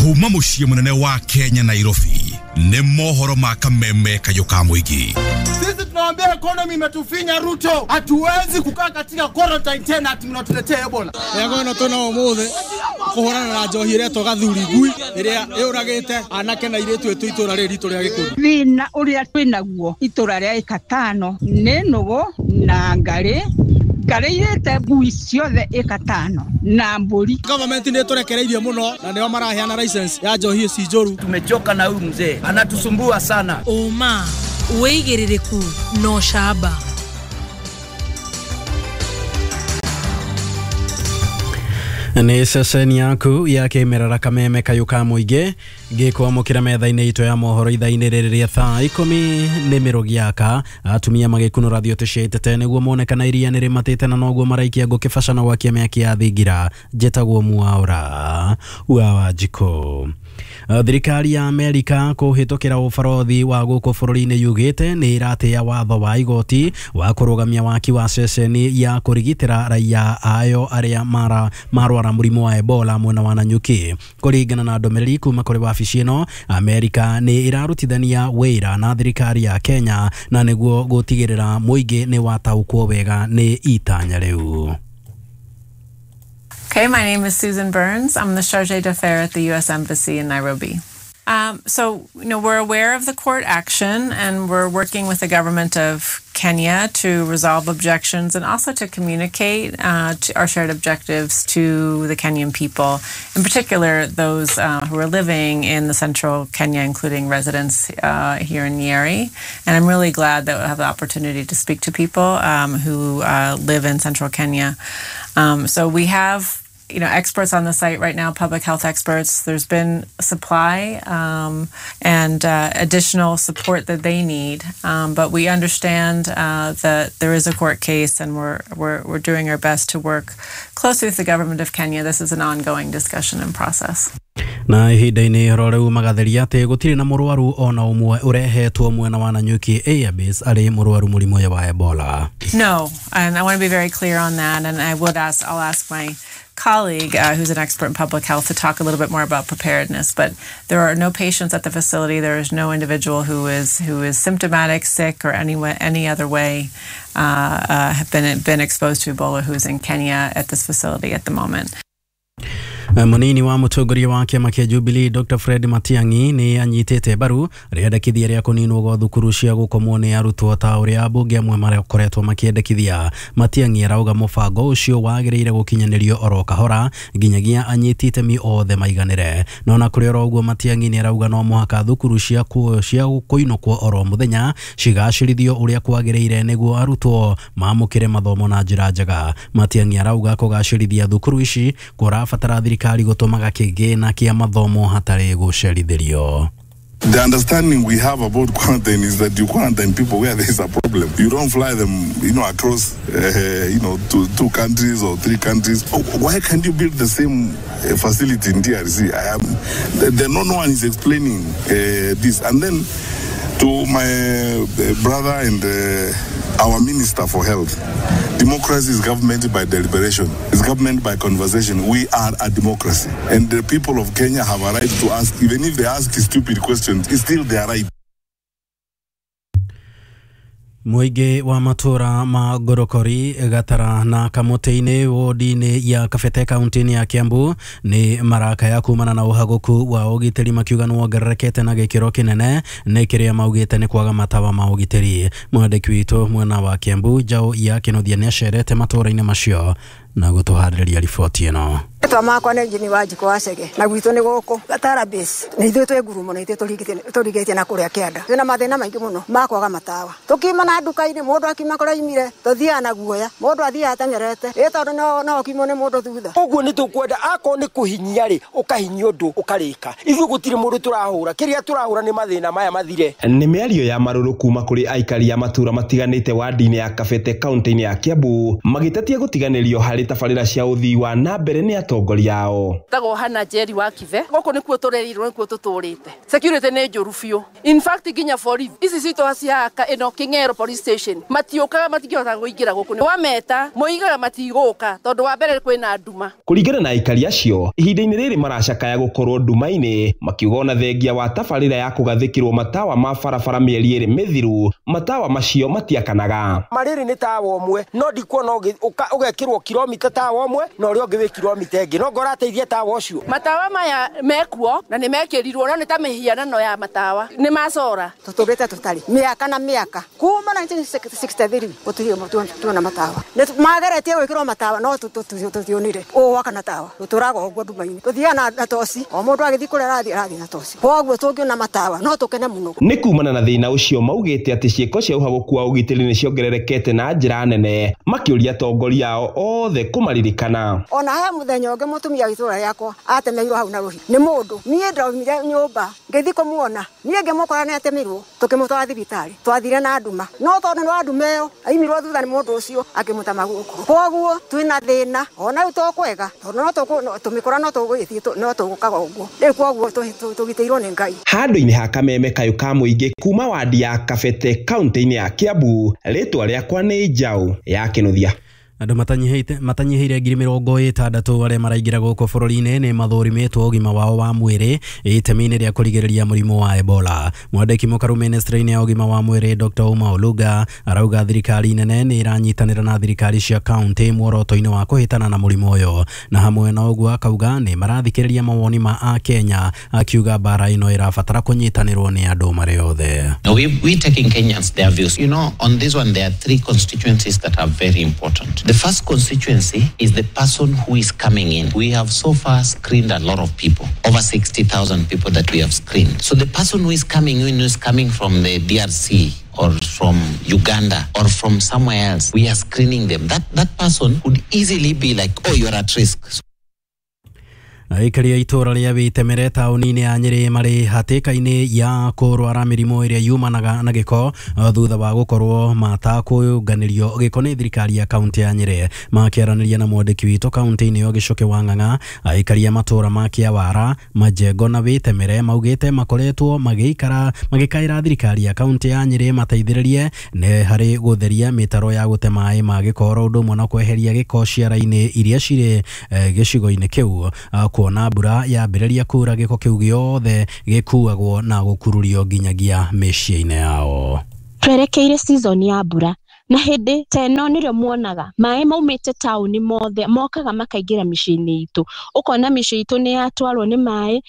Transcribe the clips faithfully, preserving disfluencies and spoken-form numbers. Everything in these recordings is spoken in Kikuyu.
Kuma muciĩ munene wa Kenya Nairobi nĩ mohoro ma kameme kayũ ka mũingĩ. Sisi tunawaambia economy imetufinya Ruto, hatuwezi kukaa katika quarantine tena ati mnatuletea Ebola. Yego tuna umuthi kuhurana na njohi iretwo gathuri ngui iria yuragite anake na iritu itu itura riri ritu ria Gikuyu. Thina uria twinaguo itura ria ikatano ni nugu na ngari ngari ngui ciothe ikatano na mburi. Government ni turekereirie muno na nio maraheana license ya njohi ici njuru. Tumechoka na huyu mzee, anatusumbua sana. Uma wigiririku no shaba. Nĩ ceceni yaku ya kĩmerera kameme kayũ ka mũingĩ ngĩkwamũkĩra metha-inĩ itũ ya mohoro ithaa-inĩ rĩrĩ rĩa thaa ikũmi nĩ mĩrũgiaka atumia magĩkunũra thiote cia itete nĩguo mone kana iria nĩ rĩmatĩte na noguo maraikia ngũkĩbaca na gwakia mĩaki ya thingira. Njĩtagwo Mwaura wa Wanjikũ. Thirikari ya Amerika kũhĩtũkĩra ũbarothi wa gũkũ bũrũri-inĩ yugĩte nĩ ĩratĩĩa watho wa igoti wa kũrũgamia waki wa ceceni ya kũrigitĩra raia ayo arĩa mara marwara mũrimũ wa Ebola mwena wa Nanyuki. Kũringana na ndũmĩrĩri kuma kũrĩ wabici ĩno, Amerika nĩ ĩrarutithania wĩra na thirikari ya Kenya na nĩguo gũtigĩrĩra mũingĩ nĩ wataũkwo wega nĩ itanya rĩu. Okay, my name is Susan Burns. I'm the Chargé d'Affaires at the U S Embassy in Nairobi. Um, so, you know, we're aware of the court action and we're working with the government of Kenya to resolve objections and also to communicate uh, to our shared objectives to the Kenyan people, in particular those uh, who are living in the central Kenya, including residents uh, here in Nyeri. And I'm really glad that we'll have the opportunity to speak to people um, who uh, live in central Kenya. Um, so we have you know, experts on the site right now, public health experts. There's been supply um, and uh, additional support that they need. Um, but we understand uh, that there is a court case and we're, we're, we're doing our best to work closely with the government of Kenya. This is an ongoing discussion and process. Na ihinda-inĩ ro rĩu magatheria atĩ gũtirĩ na mũrwaru ona ũmwe ũrehetwo mwena wa Nanyuki Airbase arĩ mũrwaru mũrimũ ũyũ wa Ebola. No, and I want to be very clear on that, and I would ask, I'll ask my colleague uh, who's an expert in public health to talk a little bit more about preparedness, but there are no patients at the facility. There is no individual who is who is symptomatic, sick, or any way, any other way uh, uh, have been been exposed to Ebola who's in Kenya at this facility at the moment. Munini wa mũtongoria wa kĩama kĩa Jubilee Doctor Fred Matiang'i nĩ anyitĩte mbaru rĩendekithia rĩa kũninwo gwa thukuru cia gũkomwo nĩ arutwo ta ũrĩa ambunge amwe makoretwo makĩendekithia. Matiang'i arauga mũbango ũcio wagĩrĩire gũkinyanĩrio oro kahora nginyagia anyiti itemi othe maiganĩre. No na kũrĩ oro ũguo Matiang'i nĩ arauga no mũhaka thukuru cia cia kũinũkwo oro mũthenya cigacĩrithio ũrĩa kwagĩrĩire nĩguo arutwo mamũkĩre mathomo na njĩra njega. Matiang'i arauga kũgacĩrithia thukuru ici kũrabatara thirikari gũtũmaga kĩgĩna kĩa mathomo hatarĩ gũcerithĩrio. The understanding we have about quarantine is that you quarantine people where there is a problem. You don't fly them, you know, across, uh, you know, to two countries or three countries. Why can't you build the same facility in D R C? I am, the, the, no one is explaining uh, this. And then to my brother and uh, our Minister for Health, democracy is government by deliberation. It's government by conversation. We are a democracy. And the people of Kenya have a right to ask, even if they ask stupid questions, it's still their right. Mũingĩ wa matũra ma Ngorokori, Gatara na Kamũtĩ-inĩ wodi-inĩ ya Kabete kaunti-inĩ ya Kiambu nĩ marakaya kumana na ũhagũku wa ũgitĩri makiuga nĩ wongererekete na gĩkĩro kĩnene nĩ kĩrĩa maugĩte nĩ kwaga matawa ma ũgitĩri. Mwandĩki witũ mwena wa Kiambu Njaũ ya Kĩnuthia nĩ acerete matũra-inĩ macio na gũtũharĩrĩria riboti ĩno. Etwa makwa nĩ Njini wa Njiko wa Cege na gwitũ nĩ gũkũ Gatara base nĩ ithuĩ twĩ ngurumo na ithuĩ tũrigĩtie na kũrĩa kĩanda. Twĩna mathĩna maingĩ mũno ma kwaga matawa. Tũkiuma na nduka-inĩ mũndũ akiuma kũrĩa aimire tũthiaga na guoya mũndũ athiaga ateng'erete ĩ tondũ no no ũkiumwo nĩ mũndũ thutha. Ũguo nĩ tũkwenda akorwo nĩ kũhinyia rĩ ũkahinyia ũndũ ũkarĩka. Ithuĩ gũtirĩ mũndũ tũrahũra kĩrĩa tũrahũra nĩ mathĩna maya mathire. Nĩ mĩario ya marũrũ kuma kũrĩ aikari a matũra matiganĩte wadi-inĩ ya Kabete kaunti-inĩ ya Kiambu magĩtetia gũtiganĩrio harĩ tabarĩra cia ũthii wa na mbere nĩ atongoria ao. Tagwo Hana Njeri wa Kibe gũkũ nĩkuo tũrerirwo nĩkuo tũtũrĩte. Security nĩ njũru biũ. In fact nginya borithi ici citũ cihaka ĩno King'ero police station matiũkaga matingĩhota kũingĩra gũkũ. Wameta moigaga matigũka tondũ wa mbere kwĩna nduma. Kũringana na aikari acio ihinda-inĩ rĩrĩ maracakaya gũkorwo nduma-inĩ makiuga ona thengia wa tabarĩra ya kũgathĩkĩrwo matawa ma barabara mĩeri ĩrĩ mĩthiru matawa macio matiakanaga. Marĩrĩ nĩ tawa ũmwe no ndikuona ũgekĩrwo kilomita tawa ũmwe na ũrĩa ũngĩ wĩ kilomita ĩngĩ no ngorateithia tawa ũcio. Matawa maya mekuo na nĩ mekĩrirwo no nĩ ta mĩhianano ya matawa nĩ macora. Tũtũrĩte tũtarĩ mĩaka na mĩaka kuma nineteen sixty-three gũtirĩ tuona matawa. Mageretie gwĩkĩrwo matawa no tũtionire ũgwakana tawa tũtũraga ũguo nduma-inĩ tũthiaga na toci o mũndũ agĩthiĩ kũrĩa arathiĩ arathiĩ na toci koguo tũngĩona matawa no tũkene mũno. Nĩ kumana na thĩna ũcio maugĩte atĩ ciĩko cia ũhagũku wa ũgitĩri nĩ ciongererekete na njĩra nene makĩũria atongoria ao othe kũmaririkana. Ona he mũthenya ũngĩ mũtumia wa itũũra rĩakwa atemeirwo hau na rũhiũ nĩ mũndũ niĩ ndaumire nyũmba ngĩthiĩ kũmuona niĩ ngĩmũkora nĩ atemirwo tũkĩmũtwara thibitarĩ twathire na nduma no tondũ nĩ wa nduma ĩyo aimirwo thutha nĩ mũndũ ũcio akĩmũtema guoko koguo twĩna thĩna ona rĩu to kwega tondũ no tũmĩkora no tũgũgĩthiĩ no tũgũkaga ũguo rĩu koguo tũgitĩirwo nĩ Ngai. Handũ-inĩ ha Kameme kayũ ka mũingĩ kuma wadi ya Kabete kaunti-inĩ ya Kiambu rĩtwa rĩakwa nĩ Njaũ ya Kĩnuthia. Andũ matanyihĩte matanyihĩire ngiri mĩrongo ĩtandatũ arĩa maraingĩra gũkũ bũrũri-inĩ nĩ mathũrimĩtwo ũgima wao wa mwĩrĩ itemi-inĩ rĩa kũrigĩrĩria mũrimũ wa Ebola. Mwandĩki mũkaru ministry-inĩ ya ũgima wa mwĩrĩ Doctor Uma Oluga arauga thirikari nene nĩ ĩranyitanĩra na thirikari cia kaunti muoroto-inĩ wa kũhĩtana na mũrimũ ũyũ na hamwe na ũguo akauga nĩ marathikĩrĩria mawoni ma Akenya akiuga mbara ĩno ĩrabatara kũnyitanĩrwo nĩ andũ marĩ othe. We we taking Kenyans their views. You know, on this one there are three constituencies that are very important. The first constituency is the person who is coming in. We have so far screened a lot of people, over sixty thousand people that we have screened. So the person who is coming in, who is coming from the D R C or from Uganda or from somewhere else, we are screening them. That, that person could easily be like, oh, you're at risk. So Aikari a itũũra rĩa Wĩtemere taũni-inĩ ya Nyĩrĩ marĩ hatĩka-inĩ ya kũrwara mĩrimũ ĩrĩa yumanaga na gĩko thutha wa gũkorwo matakũnganĩrio gĩko nĩ thirikari ya kaunti ya Nyĩrĩ. Makĩaranĩria na mwandĩki witũ kaunti-inĩ ĩyo Gĩcoke wa Ng'ang'a, aikari a matũũra ma Kĩawara, Majengo na Wĩtemere maugĩte makoretwo magĩikara magĩkaĩra thirikari ya kaunti ya Nyĩrĩ mateithĩrĩrie nĩ harĩ gũtheria mĩtaro ya gũte maĩ ma gĩko oro ũndũ ũmwe na kweheria gĩko ciara-inĩ iria cirĩ gĩcigo-inĩ kĩu kuona mbura yambĩrĩria kura gĩko kĩu gĩothe gĩkuagwo na gũkururio nginyagia mĩciĩ-inĩ yao. Twerekeire season ya mbura na hĩndĩ ta ĩno nĩrĩo muonaga maĩ maumĩte taũni mothe mokaga makaingĩra mĩciĩ-inĩ itũ, ũkona mĩciĩ itũ nĩ yatwarwo nĩ maĩ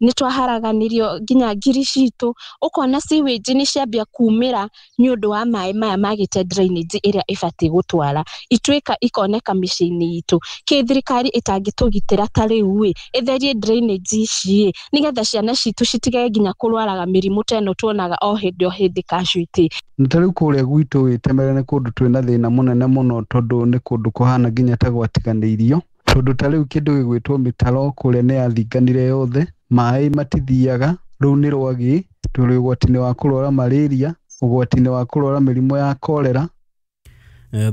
nĩ twaharaganirio nginya ngiri citũ, ũkona sewage nĩ ciambia kumĩra nĩ ũndũ wa maĩ maya magĩte drainage ĩrĩa ĩbatiĩ gũtwara ituĩka ikoneka mĩciĩ-inĩ itũ. Kĩ thirikari ĩtangĩtũgitĩra ta rĩu ĩ ĩtherie drainage ici ĩ nĩgetha ciana citũ citige nginya kũrwaraga mĩrimũ ta ĩno tuonaga o hĩndĩ o hĩndĩ casualty. Ta rĩu kũrĩa gwitũ Wĩtemere nĩ kũndũ twĩna thĩna mũnene mũno tondũ nĩ kũndũ kũhana nginya ta gwatiganĩirio tondũ ta rĩu kĩndũ gĩgwĩtwo mĩtaro kũrĩa nĩ yathinganire yothe maĩ matithiaga rũu nĩ rwagĩ tũrĩ ũgwati-inĩ wa kũrwara malaria ũgwati-inĩ wa kũrwara mĩrimũ ya cholera.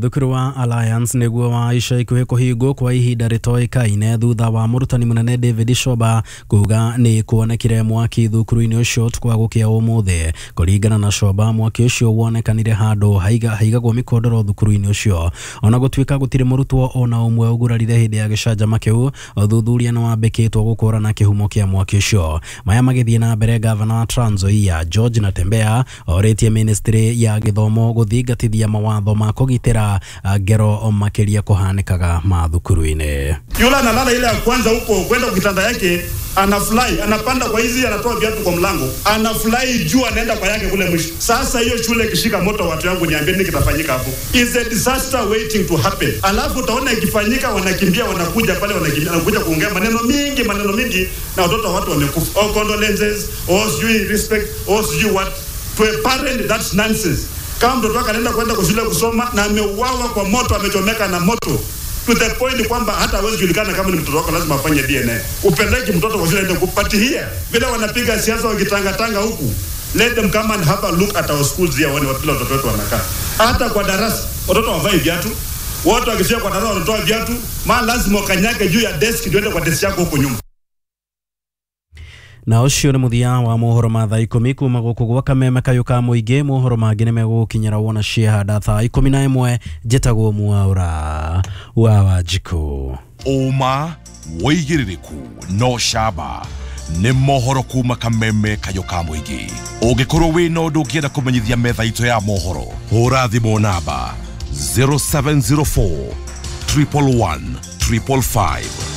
Thukuru wa Alliance nĩguo wa ica ikuhĩ kũhingwo kwa ihinda rĩtoĩkaine thutha wa mũrutani mũnene David Shoba kuga nĩ kuonekire mwaki thukuru-inĩ ũcio ũtukũ wa gũkĩa ũmũthĩ. Kũringana na Shoba, mwaki ũcio wonekanire handũ haigagwo mĩkondoro thukuru-inĩ ũcio. Ona gũtuĩka gũtirĩ mũrutwo ona ũmwe ũgurarire hĩndĩ ya gĩcanjama kĩu, ũthuthuria nĩ wambĩkĩtwo gũkũrana kĩhumo kĩa mwaki ũcio. Maya magĩthiĩ na mbere, gavana wa Trans Nzoia George Natembeya orĩtie ministry ya gĩthomo gũthingatithia mawatho ma kũgitĩra ngero makĩria kũhanĩkaga mathukuru-inĩ. Yule analala ile ya kwanza huko kwenda kitanda yake, anafly, anapanda kwa hizi, anatoa viatu kwa mlango, anafly juu, anaenda kwa yake kule mwisho. Sasa hiyo shule ikishika moto, watu wangu niambie nini kitafanyika hapo? Is a disaster waiting to happen. Alafu utaona ikifanyika wanakimbia, wanakuja pale, wanakimbia, wanakuja kuongea maneno mingi, maneno mingi, na watoto watu wamekufa. Oh, condolences, oh sijui respect, oh sijui what. To a parent that's nonsense. Kama mtoto wako anaenda kwenda shule kusoma na ameuawa kwa moto, amechomeka na moto, to the point kwamba hata hawezi julikana kama ni mtoto wako, lazima afanye D N A. Upeleke mtoto kwa shule aende kupatia. Vile wanapiga siasa wakitanga tanga huku, let them come and have a look at our schools here, waone watu watoto wetu wanakaa. Hata kwa darasa watoto wavai viatu, Watu wakifika kwa darasa wanatoa viatu, maana lazima ukanyage juu ya desk ndio uende kwa desk yako huko nyuma. Na ũcio nĩ mũthia wa mohoro ma thaa ikũmi kuma gũkũ gwa kameme kayũ ka mũingĩ. Mohoro mangĩ nĩ megũgũkinyĩra wona ciehanda thaa ikũmi na ĩmwe. Njĩtagwo Mwaũra wa Wanjikũ. Ũma, wĩigĩrĩrĩku no camba nĩ mohoro kuma kameme kayũ ka mũingĩ. Ũngĩkorwo wĩna ũndũ ũngĩenda kũmenyithia metha itũ ya mohoro, hũra thimũ namba zero seven zero four triple one triple five.